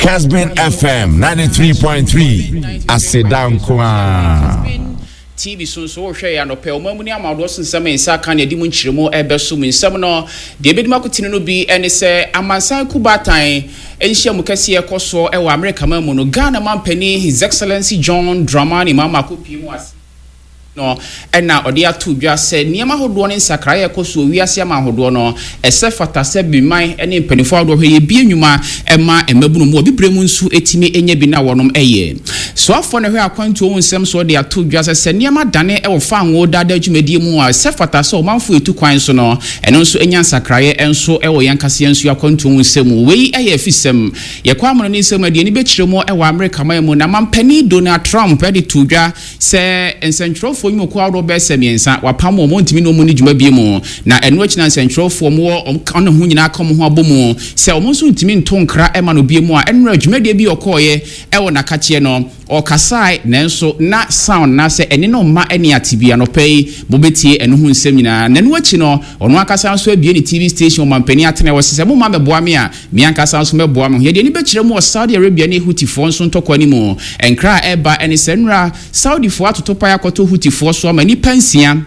Casbin FM 93.3 aseda nko ara. TV so nso wohwɛ yɛ anɔpɛ ɔman mu ne amadoɔ so nsɛm nsa ka ne adi mu nkyerɛmu ɛbɛso mu nsɛm no deɛ ɛbɛdi mu akotene no bi ɛne sɛ amansan kubatan nhyiamu kɛseɛ ɛkɔ soɔ ɛwɔ Amerika man mu no, Ghana mampanin His Excellency John Dramani Mahama akɔpie mu ase no ɛna ɔde ato dwa sɛ nneɛma ahodoɔ ne nsakraeɛ ɛkɔ so wiase ama ahodoɔ no, ɛsɛ fata sɛ biman ne mpanimfoɔ ahodoɔ hwɛ yɛbie nnwuma ɛma mmabunu mu ɔbibire mu nso ɛtumi ɛnya bi na wɔnom ɛyɛ soafoɔ no hwɛ akwantuo ho nsɛm so. Ɔde ato dwa sɛ nneɛma dane ɛwɔ fango dada dwumadie mu a, ɛsɛ fata sɛ ɔmanfoɔ etu kwan so no, ɛno nso ɛnya nsakraeɛ nso ɛwɔ yɛn kaseɛ nso akwantuo ho nsɛm mu. Wei ɛyɛ afisɛm yɛkɔ amono ne nsɛm aduane bɛkyerɛ mu ɛwɔ Amerika man mu na mampanin Donald Trump ɛde to dwa sɛ nsɛntwerɛfoɔ nnwumakuo ahodoɔ bɛyɛ sɛ mmiɛnsa wapam wɔn, ntumi ne wɔn ne dwuma bie mu. Na ɛno akyi na nsɛntwerɛfoɔ wɔ ɔne ho nyinaa ka wɔn ho abɔ mu sɛ wɔn nso ntumi nto nkra ɛma no bie mu a ɛnora dwumadie bi ɔkɔɔyɛ ɛwɔ n'akakyeɛ no ɔkasae, nanso na sound na sɛ ɛne no mma ɛne ate bi. Anɔpɛ yi mobɛtie ɛno ho nsɛm nyinaa. Na ɛno akyi no, ɔno ankasa nso abie ne TV station. Ɔmampanin atena wɔ sɛ moma mɛboa me a, me ankasa nso mɛboa me ho. Yɛde ani bɛkyerɛ mu wɔ Saudi Arabia ne Hutifoɔ nso ntɔkwa no mu. Nkra a ɛba ɛne sɛ nnora Saudifoɔ atoto pae akɔtɔ Hutifoɔ so ama nnipa nsia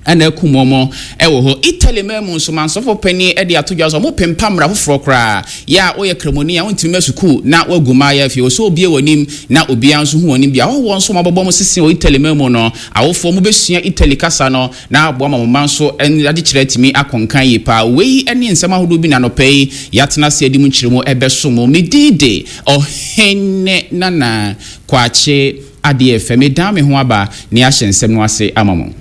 ɛna akum wɔn ɛwɔ hɔ. Italy man mu nso, mansɔfo panyin ɛde ato dwa so ɔmo pempa mmara foforɔ koraa yɛ a woyɛ kramoni a wontumi ma sukuu na wagu mmaayɛ afie wɔ sɛ obie w'anim na obiara nso hu w'anim bi. Ahɔhoɔ nso wɔabɔbɔ mo sisi wɔ Italy man mu no, awofoɔ mo bɛsua Italy kasa no na aboa ma mo mma nso adekyerɛ atumi akɔnkan yie paa. Wei ne nsɛm ahodoɔ bi na anɔpɛ yi yɛatena ase adi mu nkyerɛmu ɛbɛso mo. Me din de Ɔhene Nana Kwakye Adeɛ Fɛ. Medan me ho aba ne ahyɛ nsɛm no ase ama mo.